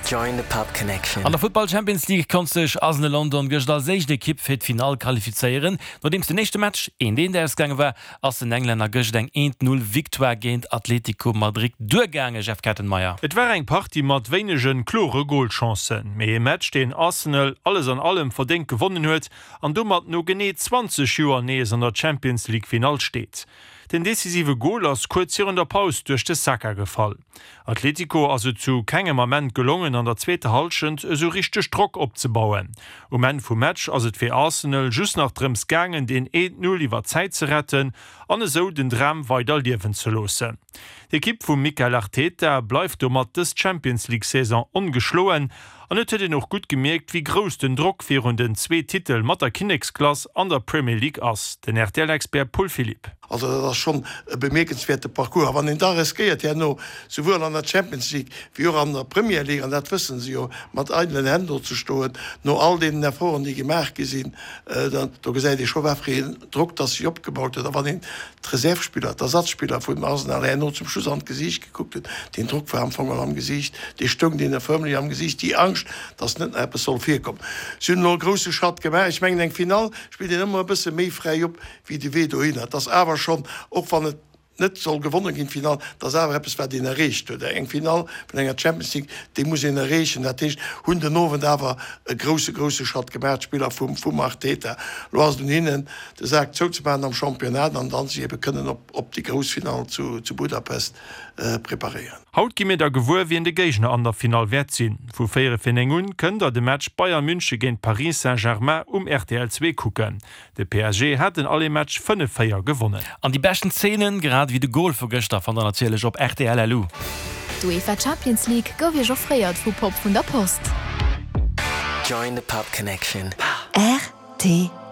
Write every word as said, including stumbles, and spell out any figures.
Join the Pop Connection. An der Futtball Champions League konnt sech Arsenal London gëscht als éischt Ekipp fir d'Finall qualifizéieren. Nodeems den éischte Match eent eent ausgaange war, ass den Englänner gëscht eng eent Null Victoire géint Atlético Madrid duergaangen, Jeff Kettenmeyer. Et war eng Partie mat wéinege klore Golchancen, mee e Match, deen Arsenal alles an allem verdéngt gewonnen huet an domat no genee zwanzeg Joer nees an der Champions League Finall steet. Den decisive Gol ass kuerz virun der Paus duerch de Saka gefall. Atlético ass et zu kengem Ament gelongen an der zweeter Hallschent esou richteg Drock opzebauen. Um Enn vum Match ass et fir Arsenal just nach drëms gaangen deen eent Null iwwer d'Zäit ze retten an esou den Dram weider liewen ze loossen. D'Ekipp vum Mikel Arteta bleift domat dës Champions League Saison ongeschloen an et huet een och gutt gemierkt, wéi grouss den Drock virun den zwee Titel mat der Kinneksklass an der Premier League ass. Den R T L-Expert Paul Philipp. Also dat ass schonn e bemierkenswäerte Parcours. A wann een da riskéiert herno souwuel an der Champions League wéi och an der Premier League, an dat wësse se jo, mat eidelen Hänn do ze stoen, no all deenen Efforten, déi gemaach gi sinn, dann do gesäit ee scho wat fir een Drock dass sech opgebaut huet. A wann een d'Reservspiller, d'Ersatzspiller vun Arsenal herno zum Schluss an d'Gesiicht gekuckt huet, deen Drock war am Fong am Gesiicht, dee stoung deene fërmlech am Gesiicht, déi Angscht, dass net nach eppes soll virkommen. Si hunn elo e grousse Schratt gemaach. Ech mengen, eng Finall spillt een ëmmer e bësse méi fräi op wéi de Wee dohinner. Et ass awer schonn, och wann et net soll gewonne ginn, d'Finall, dat ass awer eppes, wat een erreecht huet. Eng Finall vun enger Champions League, déi muss een erreechen. Dat heescht, hunn den Owend awer e grousse, grousse Schratt gemaach, d'Spiller vum, vum Arteta. Elo ass et un hinnen, de Sak zouzemaachen am Championnat an dann sech ebe kënnen op, op déi grouss Finall zu, zu Budapest preparéieren. Haut gi mir da gewuer, wien de Géigner an der Finall wäert sinn. Vu véier vir néng un kënnt der de Match Bayern München géint Paris Saint-Germain um R T L zwee kucken. De P S G hat den Aller-Match fënnef véier gewonnen. An déi beschten Zeenen, grad ewéi de Gol vu gëschter, fannt der natierlech op R T L L U. D'UEFA Champions League gouf iech offréiert vu Pop vun der Post. Join the Pop Connection. R T L.